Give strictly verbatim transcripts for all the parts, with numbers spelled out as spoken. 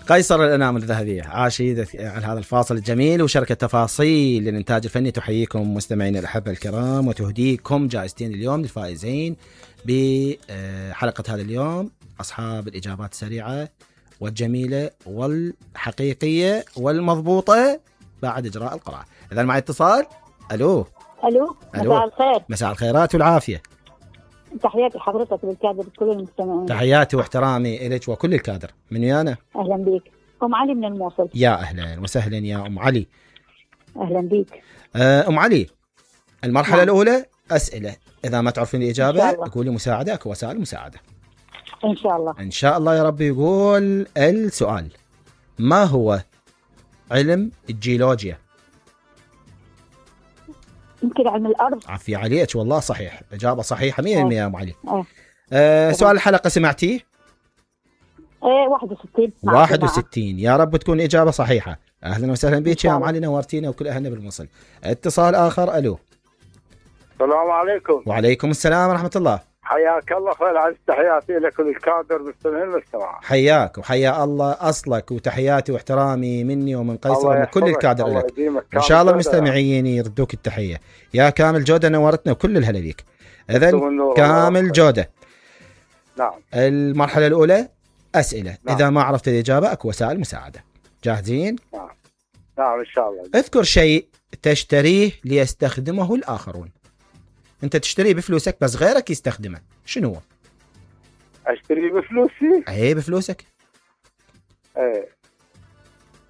قيصر الأنام الذهبية عاشيد على هذا الفاصل الجميل. وشركة تفاصيل للإنتاج الفني تحييكم مستمعين الأحبة الكرام وتهديكم جائزتين اليوم للفائزين بحلقة هذا اليوم، أصحاب الإجابات السريعة والجميلة والحقيقية والمضبوطة بعد إجراء القراءة. إذا معي اتصال. ألو ألو مساء الخير. مساء الخيرات والعافية. تحياتي حضرتك بالكادر كل المستمعين. تحياتي واحترامي إليك وكل الكادر. من ويانا؟ أهلا بيك. أم علي من الموصل. يا أهلا وسهلا يا أم علي. أهلا بيك. أم علي، المرحلة نعم. الأولى أسئلة، إذا ما تعرفين الإجابة قولي مساعدة، أكو وسائل مساعدة إن شاء الله. إن شاء الله يا رب. يقول السؤال: ما هو علم الجيولوجيا؟ يمكن علم الأرض. عفي عليك والله صحيح، إجابة صحيحة مية بالمية يا أم علي. أه. أه سؤال الحلقة سمعتيه؟ ايه واحد وستين. واحد وستين يا رب تكون إجابة صحيحة. أهلا وسهلا بك يا أم علي، نورتينا وكل أهلنا بالموصل. اتصال آخر. ألو. السلام عليكم. وعليكم السلام ورحمة الله. حياك الله خير. عز تحياتي لكل الكادر مستمعين المستمع. حياك وحيا الله أصلك، وتحياتي واحترامي مني ومن قيصر ومن كل الكادر لك. إن شاء الله المستمعين يردوك التحية يا كامل جودة، نورتنا وكل الهلا بيك. إذن كامل جودة. نعم. المرحلة الأولى أسئلة. نعم. إذا ما عرفت الإجابة أكو وسائل مساعدة. جاهزين؟ نعم نعم إن شاء الله. اذكر شيء تشتريه ليستخدمه الآخرون. أنت تشتريه بفلوسك بس غيرك يستخدمه، شنو هو؟ أشتريه بفلوسي؟ أي بفلوسك. إيه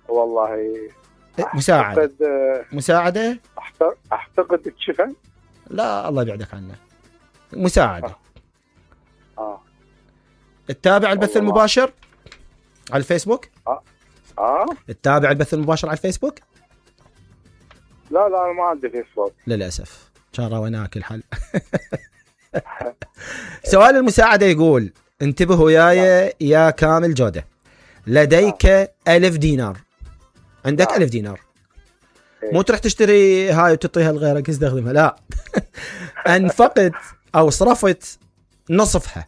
والله. مساعدة. أعتقد مساعدة؟ أعتقد الشفن. لا الله يبعدك عنه. مساعدة. آه, آه. تتابع البث المباشر على الفيسبوك؟ آه آه تتابع البث المباشر على الفيسبوك؟ لا لا أنا ما عندي فيسبوك للأسف. شارة وناك الحل. سؤال المساعدة يقول: انتبهوا وياي يا كامل جودة، لديك ألف دينار، عندك ألف دينار، مو تروح تشتري هاي وتعطيها لغيرك يستخدمها، لا. أنفقت أو صرفت نصفها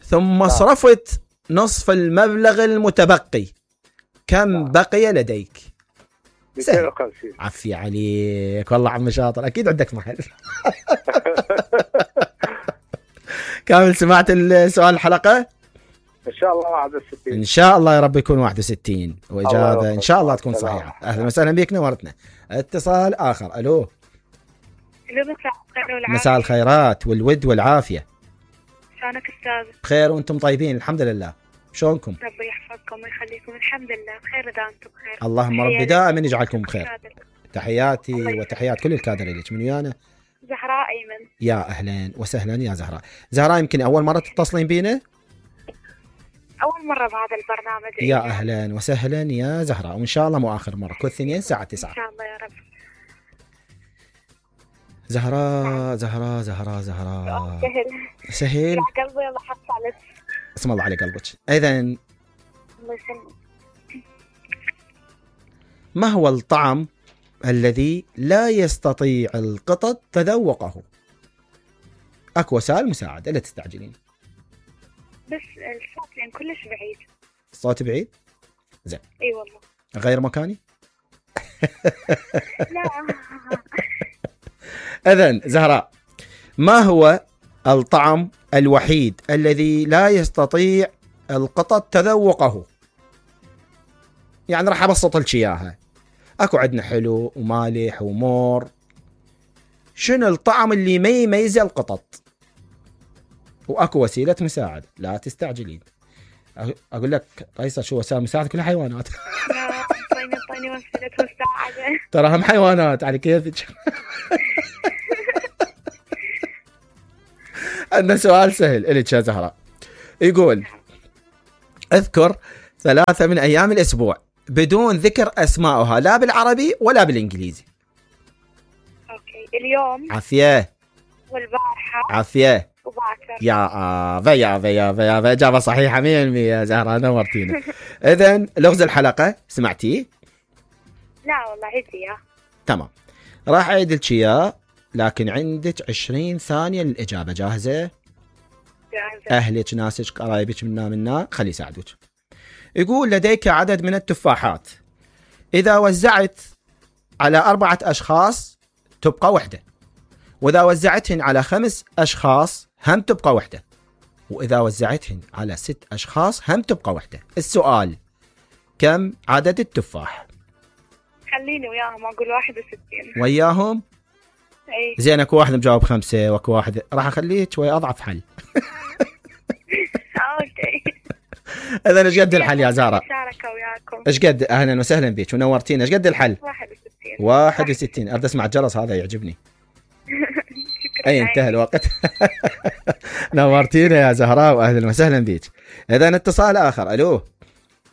ثم صرفت نصف المبلغ المتبقي، كم بقي لديك؟ سهل. عفي عليك والله عم شاطر، أكيد عندك محل. كامل سمعت السؤال الحلقة؟ إن شاء الله واحد وستين. إن شاء الله يا رب يكون واحد وستين وإجابة إن شاء الله تكون صحيحة. أهلا وسهلا بك، نورتنا. اتصال آخر. ألو. مساء الخيرات والود والعافية. شلونك أستاذ؟ بخير وأنتم طيبين الحمد لله. شلونكم؟ ربي يحفظكم ويخليكم. الحمد لله بخير إذا أنتم بخير. اللهم ربي دائما يجعلكم بخير. تحياتي وتحيات كل الكادر لك. من ويانا؟ زهراء أيمن. يا أهلا وسهلا يا زهراء. زهراء يمكن أول مرة تتصلين بينا؟ أول مرة بهذا البرنامج. يا أهلا وسهلا يا زهراء، وإن شاء الله مو آخر مرة. كل اثنين الساعة تسعة إن شاء الله يا رب. زهراء زهراء زهراء زهراء. سهل سهل يا قلبي. الله حط عليك. اسم الله على قلبك. إذن الله يسلمك. ما هو الطعم الذي لا يستطيع القطط تذوقه؟ أكو وسائل مساعدة لا تستعجلين. بس الصوت لأن كلش بعيد. الصوت بعيد؟ زين. اي والله. غير مكاني؟ لا. إذن زهراء، ما هو الطعم الوحيد الذي لا يستطيع القطط تذوقه؟ يعني راح أبسط لك إياها. أكو عندنا حلو ومالح ومور. شنو الطعم اللي ما يميز القطط؟ وأكو وسيلة مساعدة لا تستعجلين. أقول لك قيصر شو وسائل مساعدة؟ كلها حيوانات. لا طيني طيني وسيلة مساعدة. ترى هم حيوانات على كيفك. عندنا سؤال سهل إليك يا زهراء، يقول: اذكر ثلاثة من أيام الأسبوع بدون ذكر أسماءها لا بالعربي ولا بالإنجليزي. أوكي. اليوم. عافية. والبارحة. عافية. وباكر. يا آبا يا آبا يا آبا يا آبا. إجابة صحيحة مية بالمية يا زهراء، نورتينا. إذن لغز الحلقة سمعتيه؟ لا والله عيدي. تمام راح أعيد لك إياه، لكن عندك عشرين ثانية للإجابة. جاهزة؟ جاهزة. أهلك ناسك قرايبك منا منا خلي يساعدوك. يقول لديك عدد من التفاحات، إذا وزعت على أربعة أشخاص تبقى وحدة، وإذا وزعتهن على خمس أشخاص هم تبقى وحدة، وإذا وزعتهن على ست أشخاص هم تبقى وحدة. السؤال: كم عدد التفاح؟ خليني وياهم أقول واحد وستين. وياهم؟ أي. زين، اكو واحد مجاوب خمسة واكو واحد، راح اخليك شوي اضعف حل. اوكي. اذا ايش قد الحل يا زهراء؟ شاركة وياكم. ايش قد؟ اهلا وسهلا بك ونورتينا. ايش قد الحل؟ واحد وستين. واحد وستين. اريد اسمع الجرس هذا يعجبني. اي انتهى الوقت. نورتينا يا زهراء واهلا وسهلا بك. اذا اتصال اخر. الو.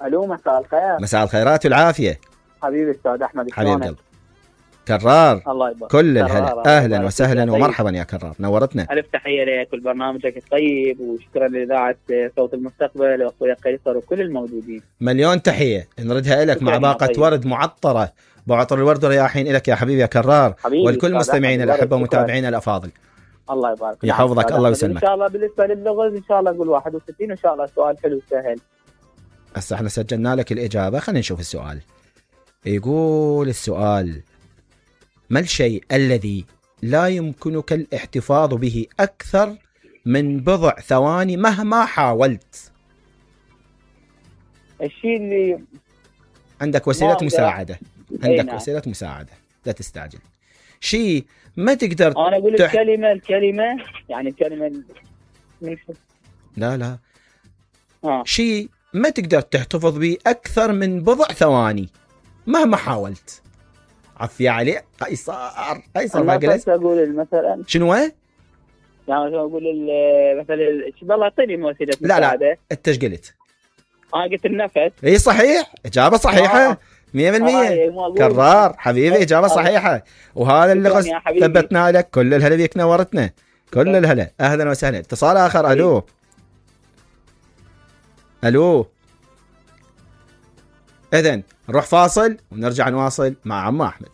الو مساء الخير. مساء الخيرات والعافيه. حبيبي استاذ احمد. حبيب قلب. كرار. الله يبارك. كل الهلا. اهلا وسهلا ومرحبا يا كرار، نورتنا. الف تحيه لك ولبرنامجك الطيب، وشكرا لاذاعه صوت المستقبل واخويا قيصر وكل الموجودين. مليون تحيه نردها لك مع باقه طيب. ورد معطره، بعطر الورد رياحين لك يا حبيبي يا كرار، والكل مستمعين الاحبه ومتابعينا الافاضل. الله يبارك. يحفظك الله ويسلمك. ان شاء الله بالنسبه للغز ان شاء الله اقول واحد وستين، وان شاء الله سؤال حلو سهل. هسه احنا سجلنا لك الاجابه، خلينا نشوف السؤال. يقول السؤال: ما الشيء الذي لا يمكنك الاحتفاظ به أكثر من بضع ثواني مهما حاولت؟ الشيء اللي عندك وسيلة مساعدة. عندك نعم. وسيلة مساعدة، لا تستعجل. شيء ما تقدر أنا أقول تح... الكلمة الكلمة يعني الكلمة من... لا لا آه. شيء ما تقدر تحتفظ به أكثر من بضع ثواني مهما حاولت. عفية عليه قيصر. قيصر ما قلت. أقول مثلا شنو؟ يعني أقول مثلا والله أعطيني وسيلة مساعدة. لا لا أنت إيش قلت؟ أنا قلت النفس. إيه صحيح، إجابة صحيحة. مية بالمية. كرار حبيبي، إجابة صحيحة، وهذا اللي ثبتنا لك. كل الهلا بيك، نورتنا. كل الهلا. أهلا وسهلا. اتصال آخر. ألو. ألو. إذن نروح فاصل ونرجع نواصل مع عم أحمد.